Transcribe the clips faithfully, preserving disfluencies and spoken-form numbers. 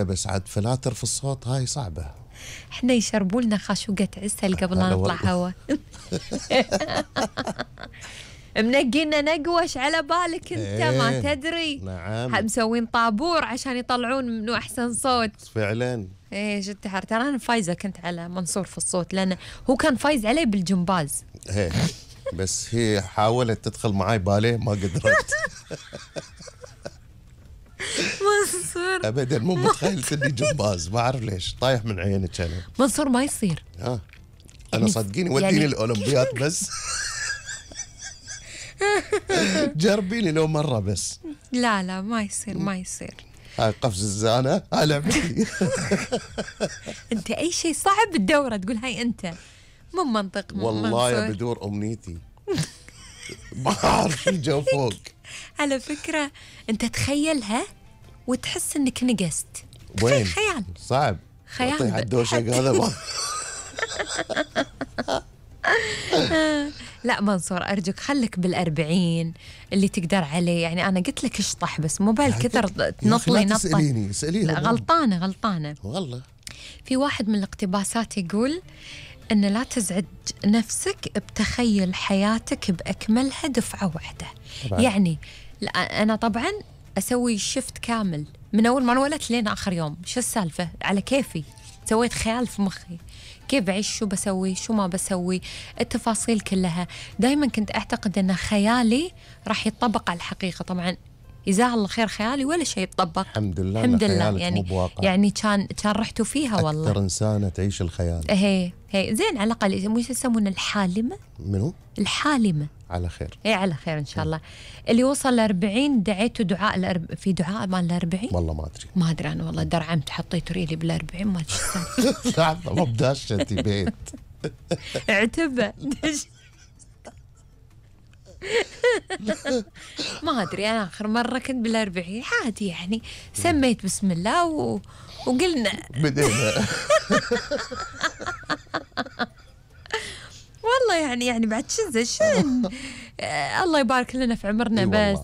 بس عاد فلاتر في الصوت هاي صعبة. احنا يشربوا لنا خاشوقة عسل قبل لا نطلع هوا. منقينا نقوش على بالك انت ايه ما تدري. نعم مسوين طابور عشان يطلعون منه احسن صوت فعلا. ايه جد تحر. ترى انا فايزه كنت على منصور في الصوت لانه هو كان فايز عليه بالجمباز. ايه بس هي حاولت تدخل معاي باليه ما قدرت. منصور ابدا مو متخيل اني جمباز، ما اعرف ليش طايح من عينك انا. منصور ما يصير. اه انا يعني صدقيني وديني يعني الاولمبياد بس. جربيني لو مره بس. لا لا ما يصير ما يصير. هاي قفز الزانه هاي لعبتي. انت اي شيء صعب بالدوره تقول هاي انت مو منطق. والله يا بدور امنيتي. ما اعرف شو جو فوق. على فكره انت تخيلها وتحس انك نقست. وين؟ خيال صعب. خيال اعطيه الدوشق هذا ما. لا منصور أرجوك خليك بالأربعين اللي تقدر عليه. يعني أنا قلت لك اشطح بس مو بالكثر تنط لي نطة. تسأليني اسأليها. لا غلطانة غلطانة والله. في واحد من الاقتباسات يقول أن لا تزعج نفسك بتخيل حياتك بأكملها دفعة واحدة. طبعا. يعني لا أنا طبعا أسوي شفت كامل من أول ما انولدت لين آخر يوم. شو السالفة على كيفي سويت خيال في مخي كيف بعيش شو بسوي شو ما بسوي التفاصيل كلها. دايما كنت أعتقد أن خيالي راح يتطبق على الحقيقة. طبعا جزاه الله خير خيالي ولا شيء يتطبق الحمد لله. الحمد لله يعني يعني كان كان رحتوا فيها والله. أكثر إنسانة تعيش الخيال. هي هي زين على الأقل مو يسمونه الحالمة. منو؟ الحالمة. على خير. اي على خير ان شاء الله. اللي وصل لأربعين دعيته دعاء الأرب... في دعاء مال الأربعين. والله ما ادري. ما ادري انا والله درعمت حطيت ريلي بالأربعين ما ادري. لحظة ما بداش انت بيت. اعتبر. ما ادري انا اخر مرة كنت بالأربعين عادي يعني سميت بسم الله و... وقلنا بدينا. والله يعني يعني بعد شذا شن. آه الله يبارك لنا في عمرنا بس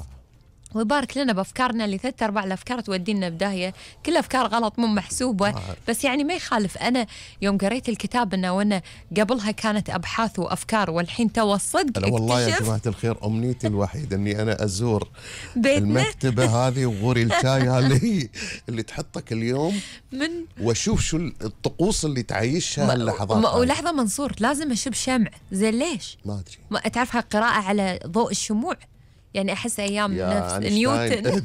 ويبارك لنا بافكارنا اللي ثلاث ارباع الافكار تودينا بداهيه. كل افكار غلط مو محسوبه. آه. بس يعني ما يخالف. انا يوم قريت الكتاب انه وانا قبلها كانت ابحاث وافكار والحين تو الصدق انا والله يا جماعه الخير امنيتي الوحيده اني انا ازور المكتبه هذه وغوري الشاي اللي هي اللي تحطك اليوم من واشوف شو الطقوس اللي تعيشها اللحظات. ولحظه منصور لازم اشب شمع زين ليش؟ ما ادري. ما تعرف هالقراءه على ضوء الشموع يعني أحس أيام نفس نيوتن.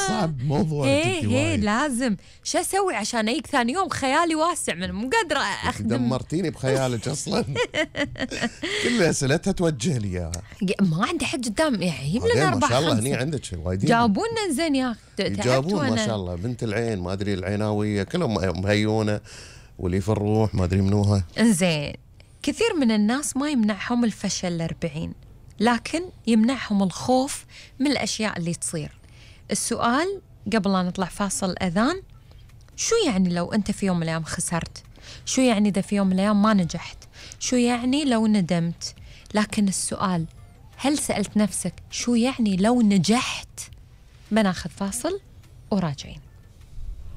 صعب موضوع. هي هي لازم شو أسوي عشان أيك ثاني يوم خيالي واسع من مو قادرة أخدم. دمرتيني بخيالك أصلا. كل أسئلتها توجه لي إياها. ما عندي حد قدام يعني يجيب لنا أربعة ما شاء الله هني عندك وايدين جابونا زين يا أخي. جابون ما شاء الله. بنت العين ما أدري العيناوية كلهم مهيونة واللي في الروح ما أدري منوها. زين كثير من الناس ما يمنعهم الفشل الأربعين لكن يمنعهم الخوف من الأشياء اللي تصير. السؤال قبل لا نطلع فاصل الأذان شو يعني لو أنت في يوم من الأيام خسرت؟ شو يعني إذا في يوم من الأيام ما نجحت؟ شو يعني لو ندمت؟ لكن السؤال هل سألت نفسك شو يعني لو نجحت؟ بناخذ فاصل وراجعين.